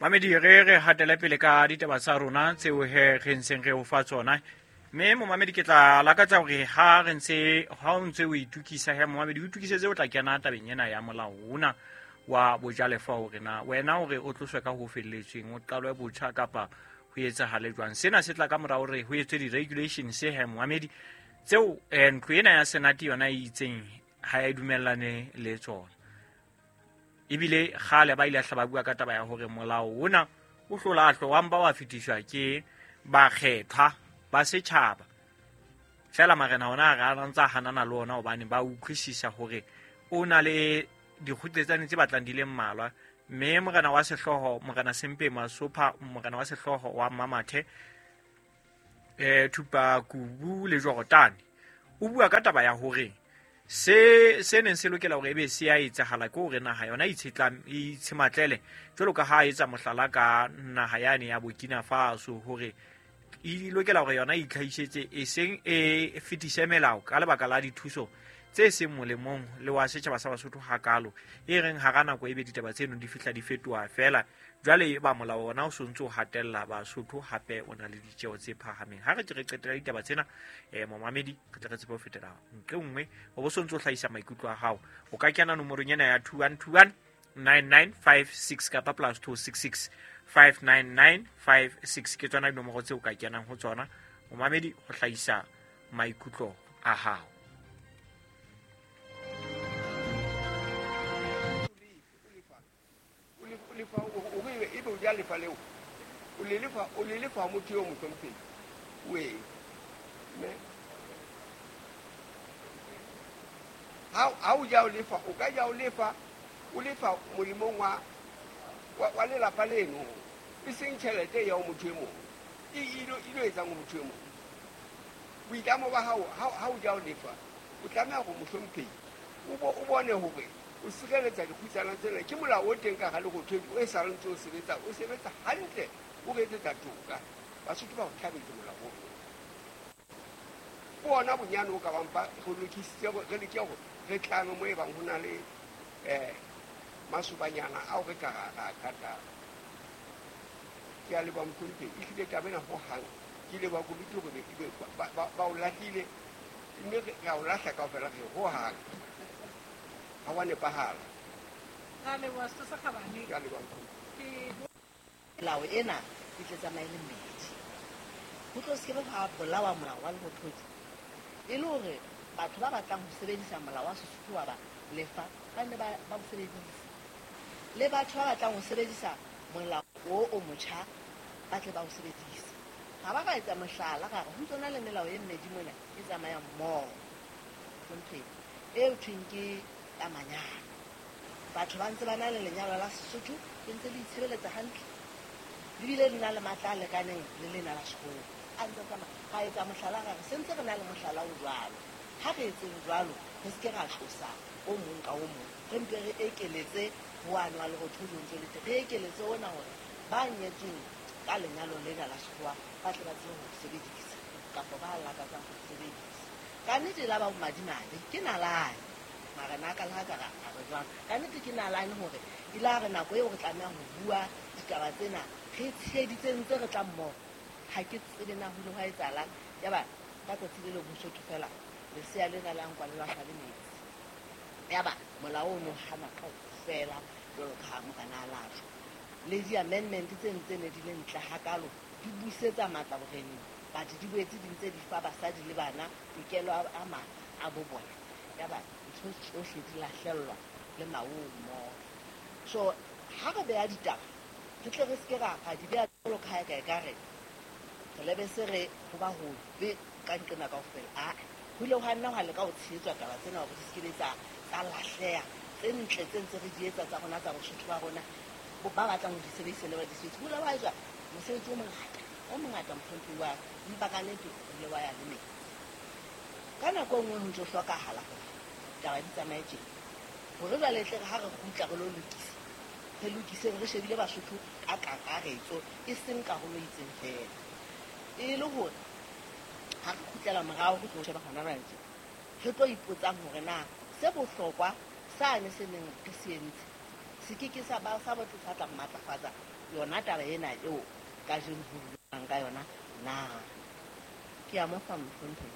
Mamedi, re re hatele pele ka ditaba tsa rona tseo he re ntseng re o fa tsona. Mme momamedi, ke tla lakatsa hore ha re ntse ha o ntse o itukisa he momamedi, o itukisetse o tla kena tabeng ena ya molao ona wa bojalefa, hore na wena hore o tloswe ka ho felletsweng, o qalwe botjha kapa ho etsahale jwang. Sena se tla ka mora hore ho etswe di-regulations he momamedi, tseo ntlo ena ya senate yona e itseng ha e dumellane le tsona. Ebile kgale ba ile hla ba bua ka taba ya hore molao ona o hlolahlwa wa mpa wa fetiswa ke bakgethwa ba setjhaba fela. Marena ona a re a ntsa hanana le ona hobane ba utlwisisa hore o na le dikgutletsane tse batlang di le mmalwa. Mme morena wa sehlooho, Morena Sempe Masopha, morena wa sehlooho wa Mamathe, Thupa Kubu le Jorotane, o bua ka taba ya hore se se neng se lokela hore ebe se a etsahala ke hore naha yona e itshematlele, jwalo ka ha etsa mohlala ka naha yane ya Burkina Faso, hore e lokela hore yona e itlhahisetse, e seng e fetise melao ka lebaka la dithuso tse seng molemong le wa setjhaba sa Basotho hakalo, e reng hara nako ebe ditaba tseno di fihla di fetoha fela. Jwale ba molao ona o sontse o hatella Basotho, hape o na le ditjeo tse phahameng. Ha re ke re qetela ditaba tsena, momamedi, re tle re tsebe ho fetela ntle nngwe, o bo sontse o hlahisa maikutlo a hao. O ka kena nomorong ena ya 2121 9956 kapa +266 59956. Ke tsona dinomoro tseo o ka kenang ho tsona, momamedi, ho hlahisa maikutlo a hao. Ebe o ja lefa leo, o le lefa, o le lefa motho yo mohlomphehi we mme ha o ja o lefa, o ka ja o lefa, o lefa molemong wa lelapa leno, e seng tjhelete ya ho motho e mong e ilo etsang ho motho e mong. Boitlamo ba hao ha o ja o lefa, o tlameha hore mohlomphehi o bone hore o sireletsa dikgutsana tsena. Ke molao o teng ka hara lerothodi o e sa le ntse o sebetsa, o sebetsa hantle, o re etsetsa toka. Basotho ba o thabetse molao ono. Ke ona bonyane o ka bang ba re lokisitse, re leke hore re tlame mo e bang ho na le masobanyana ao re ka ra katang. Ke a leboha mohlomphehi, ehlile taba ena hohang ke leboha komiti hore ba o lahlile, mme re a o lahla kaofela, re hohang ha wa nepahala. Ra leboha, Setho se Kgabane. Ke a leboha, mohlomphehi. Melao ena e tle tsamaye le mmedi, ho tlo se ke be hwa bolawa molao wa lerothodi, e le hore batho ba batlang ho sebedisa molao wa Sesotho wa ba lefa ba nne ba o sebedise, le batho ba batlang ho sebedisa molao o motjha ba tle ba o sebedise. Ga ba ka etsa mohlala ka re ho tsona le melao e mmedi mona e tsamayang mmoho, hlomphehi, e thweng ke ya manyalo. Batho ba ntse ba na le lenyalo la Sesotho, le ntse le itshebeletsa hantle, le bile le na le matla a lekaneng le lena la sekgowa. A ntse tsamaya, ra etsa mohlala ra re se ntse re na le mohlala o jwalo. Ha re etseng jwalo, re se ke ra tlosa o mong ka o mong, re mpe re ekeletse ho wane wa lerothodi o ntse le teng, re ekeletse ona hore ba nyetsweng ka lenyalo lena la sekgowa ba tle ba tsebe ho sebedisa, kapa ba lakatsang ho sebedisa. Ka nnete la ba bomadimabe ke nalane, marena a ka le ha ka ra re jwang, ka nnete ke nalane hore e la re nako eo re tlameha ho bua ditaba tsena re tsheheditse ntse re tla mmoho. Ha ke tsebe na ho ile hwa etsahalang, yaba ka tsatsi le leng Mosotho fela lesea lena le nkwa le lahlwa le metsi, yaba molao ono hana kaofela jwalo ka ha morena a lahlwa. Le di-amendment tse ntse ne di le ntle hakalo, di busetsa matla boreneng, but di boetse di ntse di fa basadi le bana tokelo a matla a bo bona, yaba ntho tsohle di lahlellwa le maong mmoho. So ha re beha ditaba, re tle re se ke ra di beha jwalo ka ha e ka e ka re re lebe se re ho ba hobe ka nqena kaofela. Ho ile hwa nna hwa leka ho tshehetswa taba tsena hore di se ke be tsa lahleha, tse ntle tse ntse re di etsa tsa rona tsa Bosotho ba rona, ba batlang ho di sebedisa le ba di sebedise. Ho ile hwa etswa mosebetsi o mongata, mohlomphehi wa ka, empa ka nnete o ile wa ya le metsi. Ka nako e nngwe ho ntso hlokahala hore taba di tsamaye tjena, hore jwale tle re ha re kgutla re lo lokisa, re lokiseng re shebile Basotho ka kakaretso, e seng karolo e itseng fela. E le hore ha re kgutlela morao re tlo sheba hona jwale tje, re tlo ipotsang hore na se bohlokwa sane se neng re se entse Se ke ke sa ba sa batho sa tla matlafatsa yona taba ena eo kajeno ho buang ka yona na. Ke a mo fa mohlomphehi.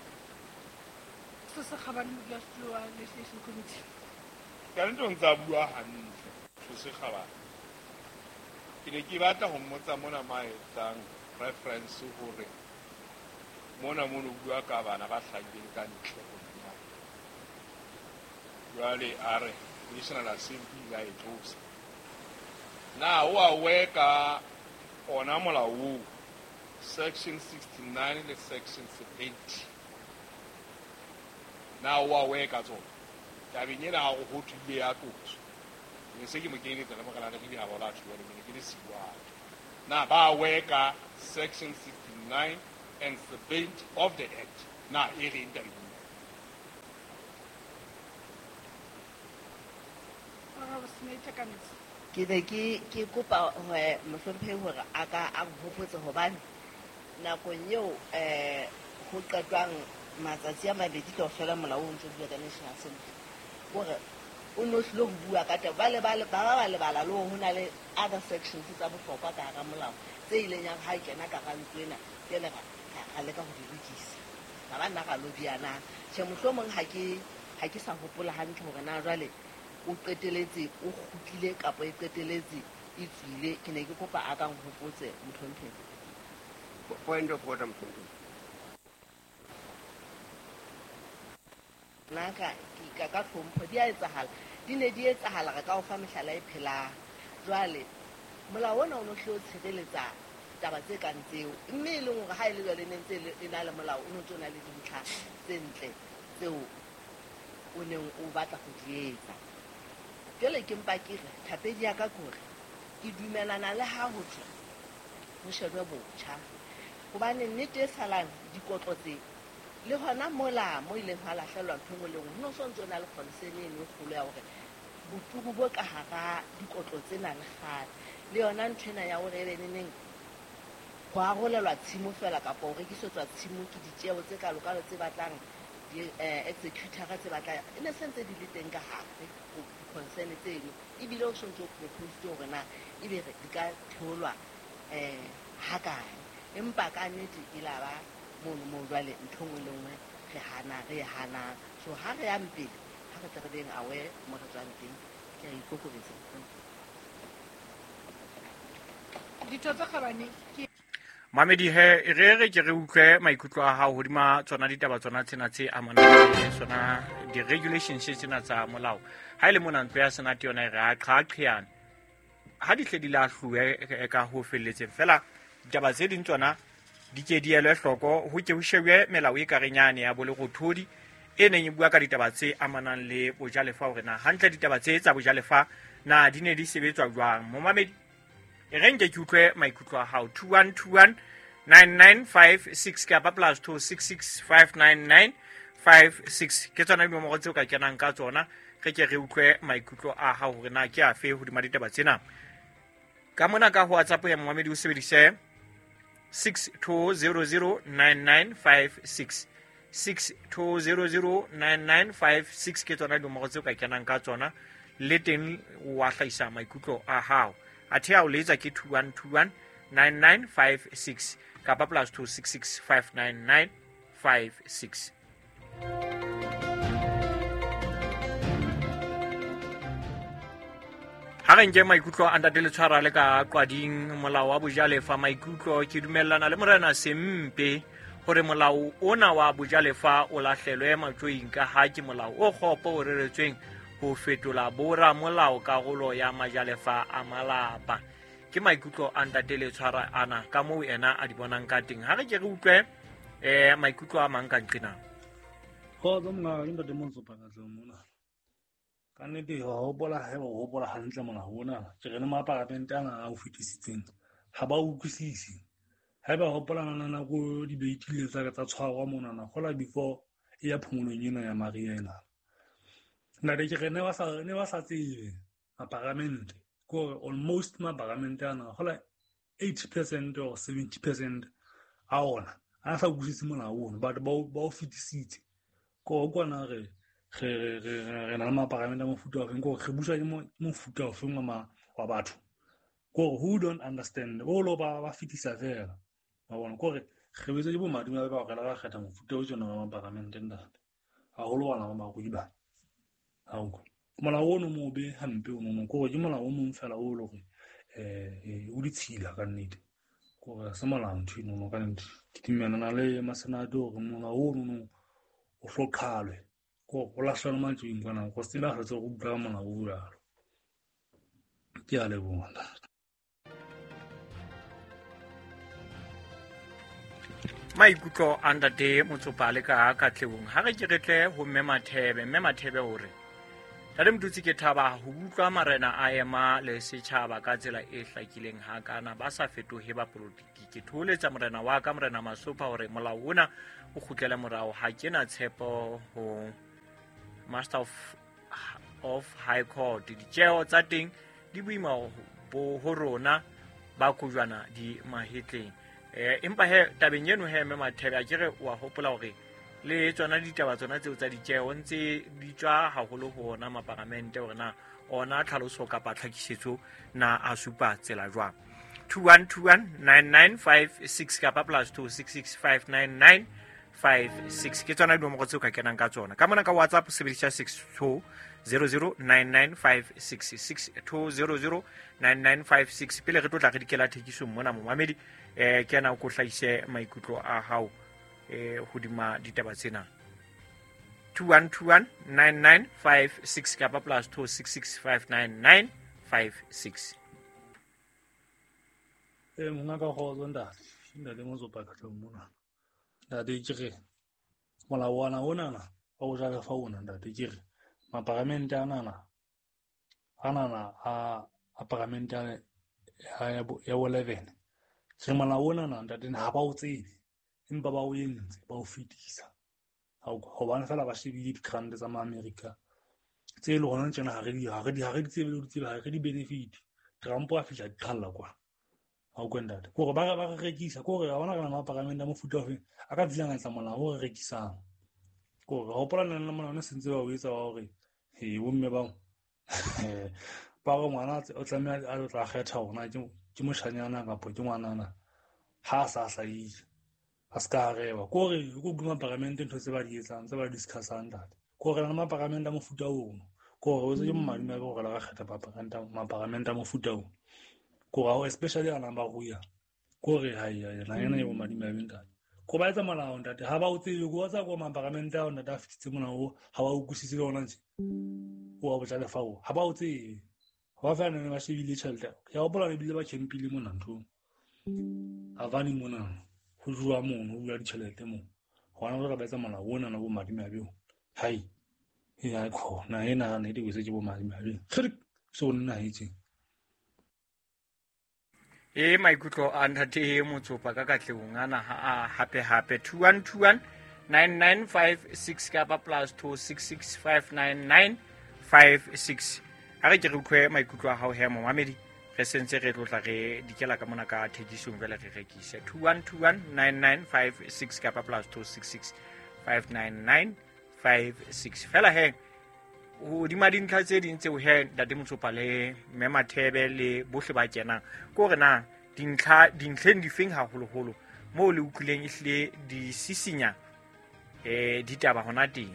Setho se Kgabane, modulasetulo wa Legislation Committee. Ka nnete o ntse a bua hantle, Setho se Kgabane. Ke ne ke batla ho mmotsa mona ma etsang reference hore mona mono o bua ka bana ba hlahileng ka ntle ho lenyalo. Jwale a re National Assembly ile a e tlosa. Na o aware ka ona molao oo, section 69 le section 70? Na o aware ka tsona? Tabeng ena ha ho thwe ile ya tloswa. Ne se ke mo kenyeletsa le morena re di ha bola tjho jwale ne ke le siwa. Na ba aware ka section 69 and 70 of the act? Na e reng tabeng ena? Honorable Senator Kanetsi. Ke ne ke kopa hore mohlomphehi hore a ka a nhopotse, hobane nakong eo ho qetwang matsatsi a mabedi kaofela molao o ntso bua ka National Assembly, hore o no hlile ho bua ka taba ba le ba ba lebala le hore ho na le other sections tsa bohlokwa ka hara molao tse ileng ya ha e kena ka hara ntlo ena, jwale ra leka ho di lokisa, ra ba nna ra lobiyana. Tjhe, mohlomong ha ke sa hopola hantle hore na jwale o qeteletse o kgutlile kapa e qeteletse e tswile. Ke ne ke kopa a ka nhopotse, mohlomphehi. Point of order, mohlomphehi. Nna ka tlhompho di a etsahala, di ne di etsahala, re ka o fa mehlala e phelang. Jwale molao ona o no hle o tshireletsa taba tse kang tseo, mme e leng hore ha e le jwale ne ntse e na le molao o no ntso na le dintlha tse ntle tseo o neng o batla ho di etsa. Jwale ke mpa ke re thapedi ya ka ke hore ke dumelana le ha ho thwe ho shejwe botjha, hobane nnete e salang dikotlo tse le hona mola mo ileng hwa lahlelwa ntho e nngwe le nngwe, ho no so ntso na le concern eno e kgolo ya hore boturu bo ka hara dikotlo tsena le kgale le yona ntho ena ya hore ebe neneng ho arolelwa tshimo fela kapa ho rekisetswa tshimo ke ditjeho tse kalokalo tse batlang di-executor tse batlang e ne se ntse di le teng ka hare di-concern tseno, ebile o sontso o propositse hore na ebe re di ka theolwa hakae. Empa ka nnete e la ba mono moo jwale ntho nngwe le nngwe re hana re e hanang. So ha re yang pele, ha re tle re beng aware mo re tswang teng. Ke a ikokobetsa. Ditho tse Kgabane, ke Mamedi he, re re ke re utlwe maikutlo a hao hodima tsona ditaba tsona tsena tse amanang le sona di-regulations tsena tsa molao. Ha e le mona ntlo ya senate yona e re a qhaqheane ha di hle di lahluwe ka ho felletseng fela, ditaba tse ding tsona di ke di elwe hloko, ho ke ho shebwe melao e kareng yane ya bolerothodi e neng e bua ka ditaba tse amanang le bojalefa, hore na hantle ditaba tse tsa bojalefa na di ne di sebetswa jwang. Momamedi, e re nke ke utlwe maikutlo a hao. 2121 9956 kapa +266 599 56 ke tsona dinomoro tseo ka kenang ka tsona. Re ke re utlwe maikutlo a hao hore na ke afe hodima ditaba tsena. Ka mona ka ho WhatsApp ya momamedi o sebedise 62009956, 62009956 ke tsona dinomoro tseo ka kenang ka tsona, le teng wa hlahisa maikutlo a hao. Athe a o letsa ke 2121 9956 kapa +266 599 56. Ha re nke maikutlo a ntate Letshwara le ka Qwading. Molao wa bojalefa, maikutlo: ke dumellana le morena Sempe hore molao ona wa bojalefa o lahlelwe matjoing, ka ha ke molao o kgopo o reretsweng ho fetola bora molao karolo ya majalefa a malapa. Ke maikutlo a ntate Letshwara ana ka moo ena a di bonang ka teng. Ha re ke re utlwe maikutlo a mang ka nqena. Kgotso mongaka, ke ntate Montsho Pakatleng mona. Ka nnete wa hopola, haeba o hopola hantle molao ona, ke re le maparamente ana a o fetisitseng ha ba utlwisise. Haeba hopola nana nako dibate tsa tsa tshwarwa monana gola before e ya phomolong ena ya mariha ena. Ntate, ke re ne ba sa tsebe maparamente, ke hore almost maparamente ana gola 80% or 70% a ona a sa utlwisise molao ono, but ba o fetisitse. Ko kwana re Re na le maparamente a mofuta ofeng, ke hore re buswa ke mofuta ofeng wa batho. Ke hore who don't understand, bo lo ba fetisa fela. Wa bona, ke hore re betse ke bo madimabe ba hore re kgetha mofuta o tjena wa maparamente ntate. Haholo bana ba barui ba. Ha o utlwa. Molao ono mobe hampe ono, ke hore ke molao o mong fela o le hore o ditshila ka nnete. Ke hore ha se molao ntho enono ka nnete. Ke dumellana le masenate hore molao ono o hloqhalwe. Ke hore o lahlelwe matsweng kwana, go se ba hlotse go utlwa molao o jwalo. Ke a leboha ntate. Maikutlo a ntate Motsopa le ka Katlehong. Ha re ke re tle ho Mme Mathebe. Mme Mathebe o re, Ntate Motutsi, ke thaba ho utlwa marena a ema le setjhaba ka tsela e hlakileng hakana, ba sa fetohe ba politiki. Ke thoholetsa morena wa ka, Morena Masopha, hore molao ona o kgutlele morao. Ha ke na tshepo ho Master of High Court. Ditjeho tsa teng di boima bo ho rona ba kojwana di mahetleng. Empa he tabeng eno he Mme Mathebe, a ke re wa hopola hore le tsona ditaba tsona tseo tsa ditjeho ntse di tswa haholo ho ona maparamente, hore na ona tlhaloso kapa tlhakisetso na a supa tsela jwang. 21219956 kapa +26659956 ke tsona dinomoro tseo ka kenang ka tsona. Ka mona ka WhatsApp sebedisa 62009956, 62009956. Pele re tlo tla re dikela thekisong mona momamedi, kena o ko hlahise maikutlo a hao hodima ditaba tsena. 21219956 kapa +26659956. Monga ka kgotso ntate, ntate Motsopa Katlehong mona. Ntate ke re molao ona onana wa ho jala fa ona ntate, ke re maparamente anana a paramente ya bo 11. Re molao onana ntate ha ba o tsebe, empa ba o entse, ba o fetisa. Hobane fela ba shebile di-grant tsa ma-America tse le hona tjena ha re di tsebe le ho di tsebe, ha re di benefit. Trump a fihla di qhalla kwa. Ha o kwe ntate. Ke hore ba re rekisa, ke hore ha hona re na maparamente a mofuta ofe a ka fihlang a etsa molao o re rekisang. Ke hore hopola nna le molao ne sentse ba o etsa wa hore he bomme bao ba re ngwana o tlameha a tla kgetha hore na ke moshanyana kapa ke ngwanana ha a sa hlahile, a se ka reba. Ke hore ko utlwa maparamente ntho tse ba di etsang, tse ba di discussang ntate. Ke hore na maparamente a mofuta ono, ke hore o tse ke madimabe hore la kgetha maparamente a mofuta ono. Ke hore especially a nang ba ruya, ke hore ha ya na ena e bo madimabe ntate. Ko ba etsa molao ntate, ha ba o tsebe, ko tsa ko maparamente ao ntate a fitse molao ha ba o utlwisise le ona ntse. O wa botsa lefao, ha ba o tsebe. Ha ba fela ne ba shebile tjhelete. Ke a hopola le bile ba campile mona nthong. Havane mona ho jowa mono, ho bua ditjhelete moo. Hona jwale ba etsa molao ona na bo madimabe o. Hai. Ya khona ena ne di wetse ke bo madimabe. Kgere so nna itse. E maikutlo a ntate Motsopa ka Katlehong ana ha hape hape 21219956 kapa +26659956. Ha re ke re utlwe maikutlo a hao he momamedi, re sentse re tlotla re dikela ka mona ka thekisong jwale re rekise. 21219956 kapa +26659956. Fela he hodima dintlha tse ding tseo he ntate Motsopa le Mme Mathebe le bohle ba kenang, ke hore na dintlheng difeng haholoholo moo le utlwileng ehlile di sisinya ditaba hona teng.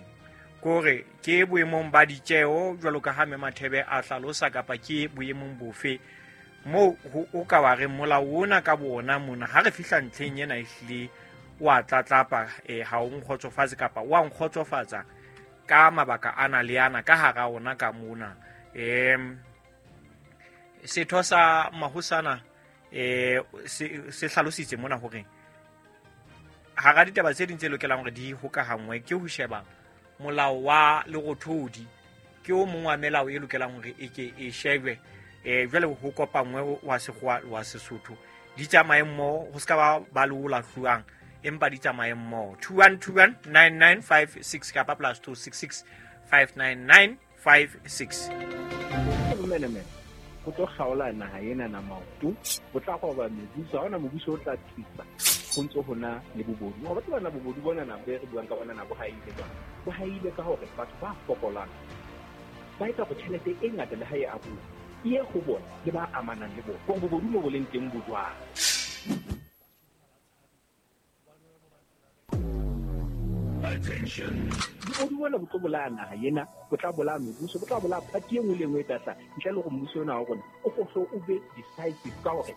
Ke hore ke boemong ba ditjeo jwalo ka ha Mme Mathebe a hlalosa, kapa ke boemong bofe moo o ka wa re molao ona ka bona mona ha re fihla ntlheng ena ehlile wa tlatlapa, ha o nkgotsofatse kapa wa nkgotsofatsa ka mabaka ana le ana ka hara ona ka mona. Setho sa mahosana se hlalositse mona hore hara ditaba tse ding tse lokelang hore di hokahangwe ke ho sheba molao wa lerothodi, ke o mong wa melao e lokelang hore e ke e shebwe, jwale ho kopangwe wa sekgowa wa Sesotho di tsamaye mmoho, ho ska ba le o lahluwang, empa di tsamaye mmoho. 21219956 kapa +26659956. Menemene ho tlo kgaola naha ena na maoto, ho tla roba mebuso, ha hona mobuso o tla thusa. Ho ntso ho na le bobodu. Wa batho bana bobodu bona na be re buang ka bona na bo haile jwang. Bo haile ka hore batho ba fokolang ba etsa hore tjhelete e ngata le ha e abuwa e ye ho bona le ba amanang le bona. Hore bobodu mo bo leng teng bo jwang. Bobodu bona bo tlo bolaya naha ena, bo tla bolaya mebuso, bo tla bolaya party e nngwe le e nngwe e tla hlaha. Ntle le hore mmuso ona wa rona o ko hlo o be decisive ka hore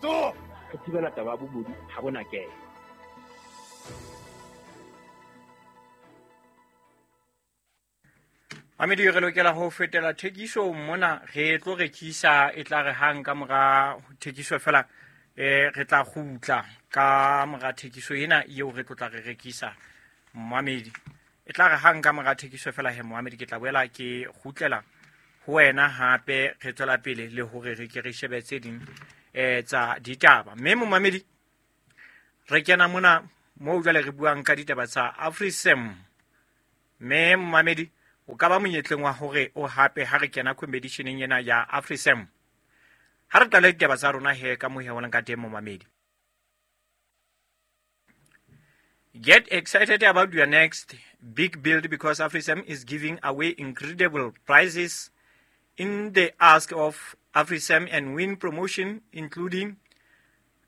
re thibela taba ya bobodu ha bona kena. Mamedi, re lokela ho fetela thekiso mona, re tlo rekisa e tla re hang ka mora thekiso fela, re tla kgutla ka mora thekiso ena eo re tlo tla re rekisa momamedi. E tla re hang ka mora thekiso fela he momamedi, ke tla boela ke kgutlela ho wena hape, re tswela pele le hore re ke re shebe tse ding tsa ditaba. Mme momamedi, re kena mona moo jwale re buang ka ditaba tsa AfriSam. Mme momamedi, o ka ba monyetleng wa hore o hape ha re kena competitioneng ena ya AfriSam. Ha re qale ditaba tsa rona he ka mohe o leng ka teng momamedi. Get excited about your next big build because AfriSam is giving away incredible prizes in the Ask of AfriSam and Win promotion, including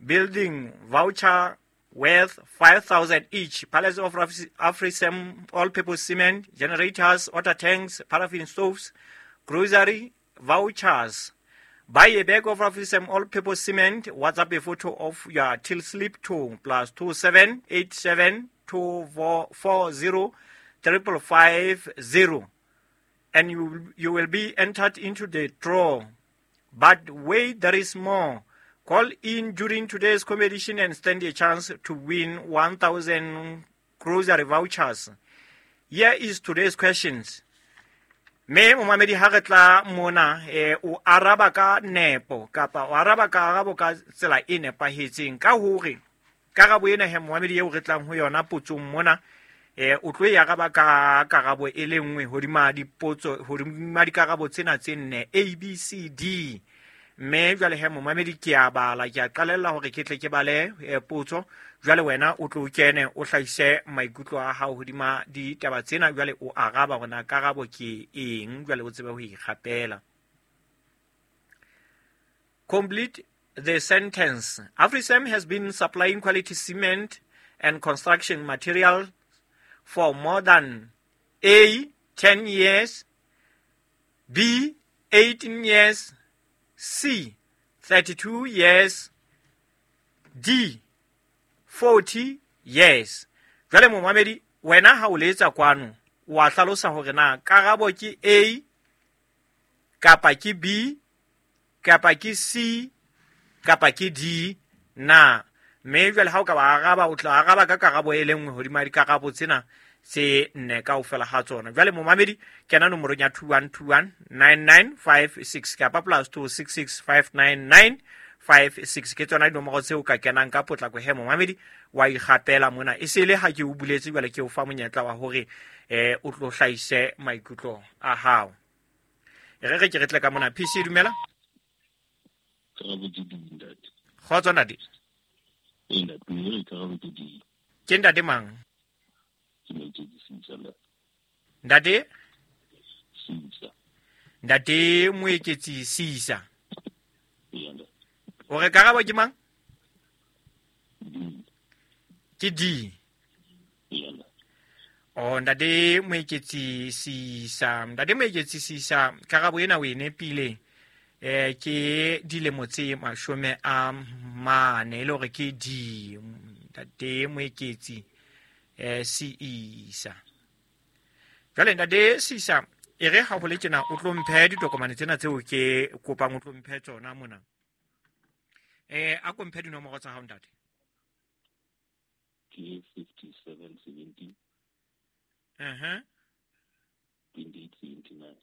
building voucher worth 5,000 each, pallets of AfriSam all-purpose cement, generators, water tanks, paraffin stoves, grocery vouchers. Buy a bag of AfriSam all-purpose cement. WhatsApp a photo of your till slip to +27 87 2440 555 0, and you will be entered into the draw. But wait, there is more. Call in during today's competition and stand a chance to win 1,000 grocery vouchers. Here is today's questions. Me momamedi, ha re tla mona, o araba ka nepo kapa o araba ka arabo ka tsela e nepahetseng, ka hore karabo ena he momamedi eo re tlang ho yona potsong mona, o tlo e araba ka karabo e le nngwe hodima dipotso, hodima dikarabo tsena tse nne A, B, C, D. Mme jwale he momamedi, ke a bala, ke a qalella hore ke tle ke bale potso. Jwale wena o tlo kene o hlahise maikutlo a hao hodima ditaba tsena, jwale o araba hore na karabo ke eng, jwale o tsebe ho ikgapela. Complete the sentence. AfriSam has been supplying quality cement and construction material for more than A, 10 years, B, 18 years, C, 32 years, D, 40 years. Jwale momamedi, wena ha o letsa kwano, wa hlalosa hore na karabo ke A kapa ke B kapa ke C kapa ke D na. Mme jwale ha o ka ba araba, o tla araba ka karabo e le nngwe hodima dikarabo tsena tse nne kaofela ha tsona. Jwale momamedi, kena nomorong ya 21219956 kapa +26659956, ke tsona dinomoro tseo ka kenang ka potlako he momamedi, wa ikgapela mona. E se le ha ke o buletse, jwale ke o fa monyetla wa hore o tlo hlahise maikutlo a hao. E re re ke re tle ka mona. PC, dumela. Karabo ke D, ntate. Kgotso, ntate. Ee, ntate, mme re karabo ke D. Ke ntate mang? Ke Moeketsi Sisa, ntate. Ntate? Sisa. Ntate Moeketsi Sisa. Ee, ntate. O re karabo ke mang? D. Ke D. Ee, ntate. Oh, ntate Moeketsi Sisa. Ntate Moeketsi Sisa, karabo ena o e nepile. Ke dilemo tse 40, e le hore ke D. Ntate Moeketsi Sisa. Jwale ntate Sisa, e re ha ho le tjena o tlo mphe ditokomane tsena tseo ke kopang o tlo mphe tsona mona. A ko mphe dinomoro tsa hao ntate. Ke 5770. 2879.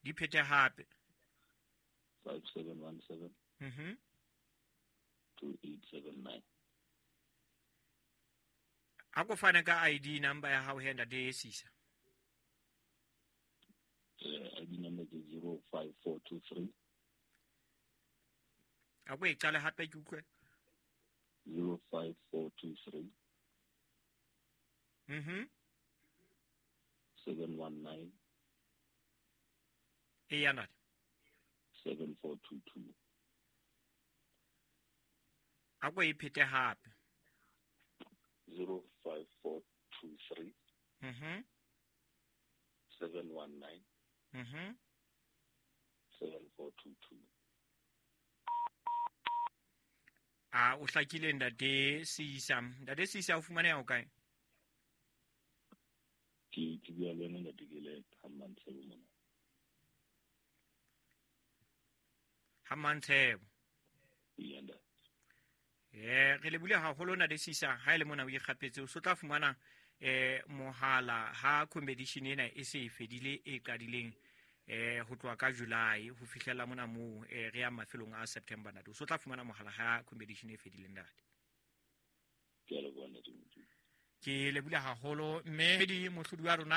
Di phete hape. 5717. 2879. A ko fane ka ID number ya hao he ntate Sisa. ID number ke 05423. A ko e qale hape ke utlwe. 05423 719 Eya ntate. 7422. A ko e phete hape. 05423 719 7422. A o hlakile ntate Seisa. Ntate Seisa o fumaneha o kae? Ke bua le wena ntate, ke le ha Mmantshebo mona. Ha Mmantshebo. Eya ntate. Re lebile haholo ntate Seisa, ha e le mona o ikgapetse o so tla fumana mohala ha competition ena e se e fedile e qadileng ho tloha ka July ho fihlela mona moo re yang mafelong a September ntate. O so tla fumana mohala ha competition e fedile ntate. Ke a leboha ntate Motsumi. Ke lebile haholo mme di mohlodi wa rona.